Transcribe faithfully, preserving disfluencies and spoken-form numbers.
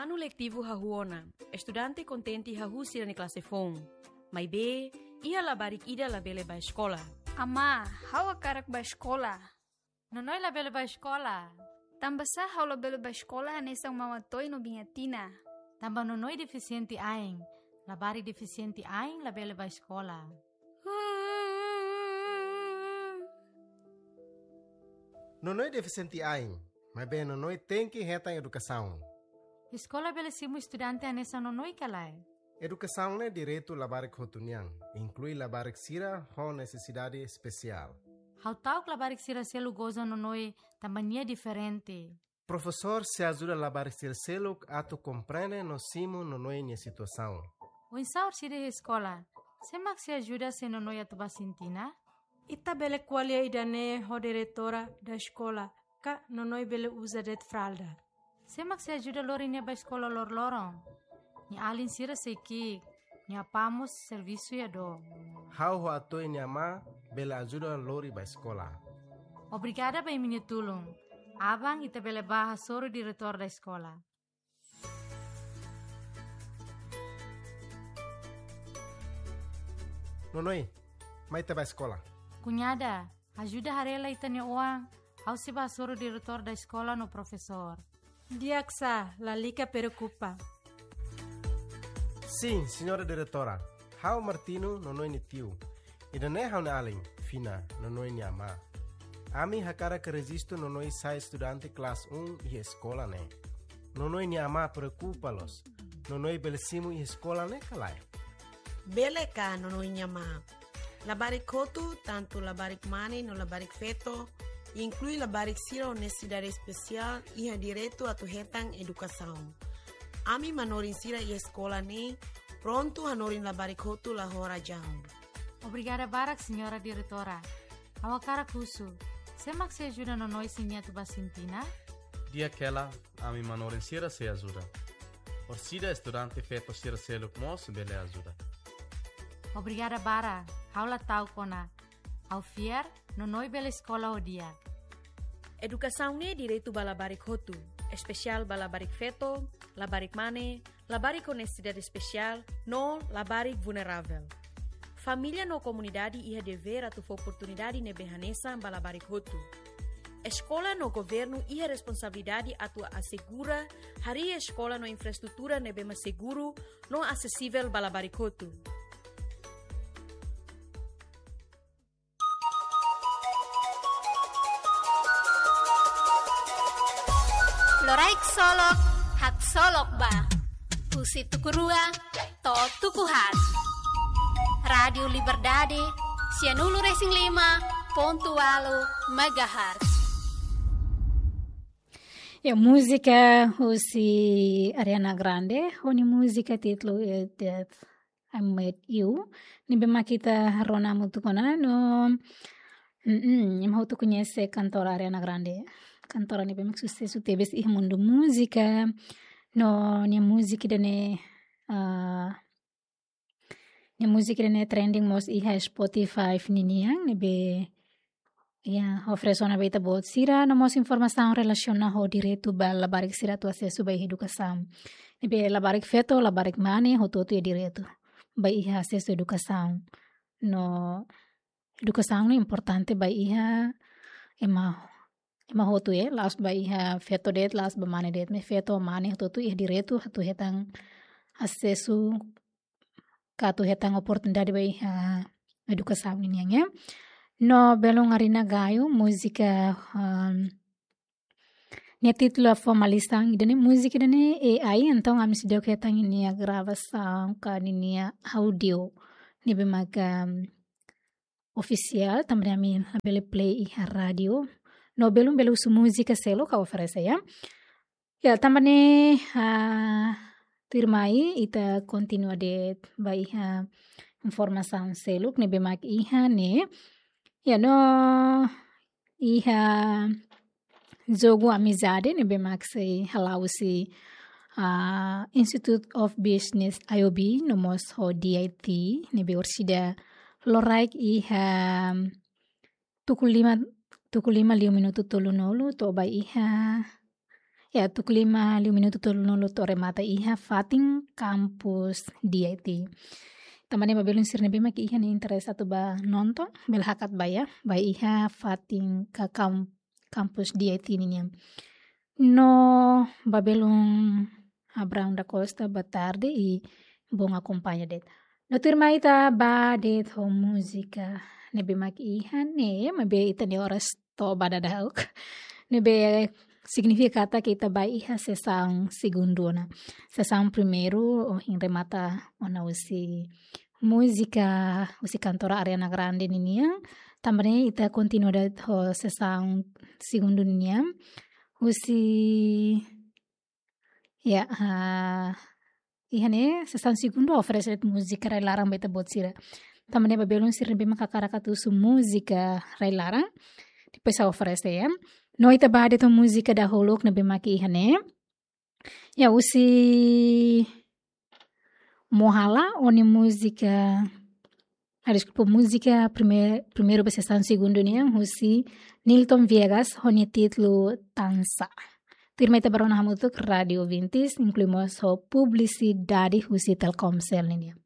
Anu letivu hahú ona, estudante kontente hahú sira-nia klase foun. Maibé, iha labarik ida labele bá eskola. Amá, ha'u hakarak bá eskola. Nonoi labele bá eskola. Tanbasá ha'u labele bá eskola hanesan Maun Atoy no Biin Atina? Tanba Nonoi defisiente ain. Labarik defisiente ain labele bá eskola. Nonoi defisiente ain, maibé Nonoi tenke hetan edukasaun. Eskola bele simu estudante hanesan Nonoi ka lae? Edukasaun ne'e direitu labarik hotu nian, inklui labarik sira ho nesesidade espesiál. Ha'u ta'uk labarik sira seluk goza Nonoi tanba nia diferente. Profesór sei ajuda labarik sira seluk atu komprende no simu Nonoi nia situasaun. Oinsá orsida iha eskola? Sé mak sei ajuda se Nonoi atu bá sintina? Ita bele ko'alia ida-ne'e ho diretora da eskola, ka Nonoi bele uza de'it fralda. Sé mak sei ajuda lori nia bá eskola loroloron? Nia alin sira sei ki'ik, nia apá mós servisu iha dook. Ha'u ho Atoy nia amá bele ajuda lori bá eskola. Obrigada ba imi-nia tulun. Aban ita bele bá hasoru diretór da eskola. Nonoi, mai ita bá eskola. Kuñada, ajuda haree lai ita-nia oan, ha'u sei bá hasoru diretór da eskola no profesór. Di'ak sá, lalika preokupa. Sin, señora diretora. Ha'u Martino, Nonoi nia tiu. Ida-ne'e ha'u-nia alin, Fina, Nonoi nia amá. Ami hakarak rejistu Nonoi sai estudante klase um iha eskola ne'e. Nonoi nia amá preokupa loos. Nonoi bele simu iha eskola ne'e ka lae? Bele ka, Nonoi nia amá. Labarik hotu, tantu labarik mane no labarik feto, inklui labarik sira ho nesesidade espesiál, iha direitu atu hetan edukasaun. Ami manorin sira iha eskola ne'e prontu hanorin labarik hotu la ho razaun. Obrigada barak, señora diretora. Ha'u hakarak husu, sé mak sei ajuda Nonoi se nia atu bá sintina? Di'ak hela, ami manorin sira sei ajuda. Orsida estudante feto sira seluk mós bele ajuda. Obrigada barak, ha'u la ta'uk ona. Ha'u fiar, Nonoi bele eskola ho di'ak. Edukasaun ne'e direitu ba labarik hotu, espesiál ba labarik feto, labarik mane, labarik ho nesesidade espesiál, no labarik vulneravel. Família no komunidade iha devér atu fó oportunidade ne'ebé hanesan ba labarik hotu. Eskola no governu iha responsabilidade atu asegura harii eskola no infraestrutura ne'ebé mak seguru no asesivel ba labarik hotu. Loraik solok, haksolok ba. Husi tuku rua to'o tuku haat. Rádiu Liberdade, sianulu resin lima pontu ualu megahertz. Ya, múzika husi Ariana Grande, ho nia múzika títulu, eh, That I Met You. Ne'ebé mak ita rona hamutuk ona, no, mm, imi hotu koñese kantora Ariana Grande. Kantora ne'ebé mak susesu tebes iha mundu múzika. No, nia múzika ida-ne'e, ah, nia múzika ida-ne'e trending mós iha Spotify ninian, ne'ebé, ya, oferese ona ba ita-boot sira, no mós informasaun relasiona ho direitu ba labarik sira atu asesu ba iha edukasaun. Ne'ebé labarik feto, labarik mane, hotu-hotu iha direitu ba iha asesu edukasaun. No, edukasaun ne'e importante ba iha ema, ema hotu, eh, la'ós ba iha feto de'it, la'ós ba mane de'it, maibé feto, mane, hotu-hotu iha direitu atu hetan asesu ka atu hetan oportunidade ba iha edukasaun ninian, ya. No, belun Ariana Grande, múzika, um, nia títulu Afo Malisan, ida-ne'e múzika ida-ne'e A I, entaun ami seidauk hetan nia gravasaun ka nia áudiu ne'ebé mak, um, ofisiál, tanba ne'e ami labele play iha rádiu. No, belun, bele husu múzika seluk ha'u oferese, ya. Ya, tanba ne'e, ah, tuirmai ita kontinua de'it ba iha informasaun seluk ne'ebé mak iha ne'e. Ya, no, iha jogu amizade ne'ebé mak sei hala'o husi, ah, Institute of Business, I O B, no mós ho D I T, ne'ebé orsida loraik iha tuku lima, tuku lima liu minutu tolunulu to'o ba iha, Ya, tuku lima liu minutu tolunulu to'o remata iha fatin kampus D I T. Tanba ne'e ba belun sira ne'ebé mak iha nia interese atu ba nonton, bele hakat ba iha, ba iha fatin ka kam-, kampus D I T ninian. No ba belun Abrão da Costa, boa tarde i bom akompaña de'it. No tuirmai ita ba de'it ho múzika ne'ebé mak iha ne'e, maibé ita-nia oras to'o ba dadauk. Ne'ebé signifika katak ita ba iha sesaun segundu ona. Sesaun primeiru ohin remata ona husi múzika husi kantora Ariana Grande ninian. Tanba ne'e ita kontinua de'it ho sesaun segundu ninian. Husi, ya, ah, iha ne'e sesaun segundu oferese múzika rai-laran ba ita-boot sira. Tanba ne'e ba belun sira ne'ebé mak hakarak atu husu múzika rai-laran, depois ha'u oferese, ya. No ita ba de'it ho múzika dahuluk ne'ebé mak iha ne'e. Ya, husi Mohala, o-nia múzika, ah, deskulpa, múzika prime-, primeiru ba sesaun segundu nian, husi Nilton Viegas, ho nia títulu Tansa. Tuirmai ita ba rona hamutuk rádiu ouvintes, inklui mós ho publisidade husi Telkomsel ninian.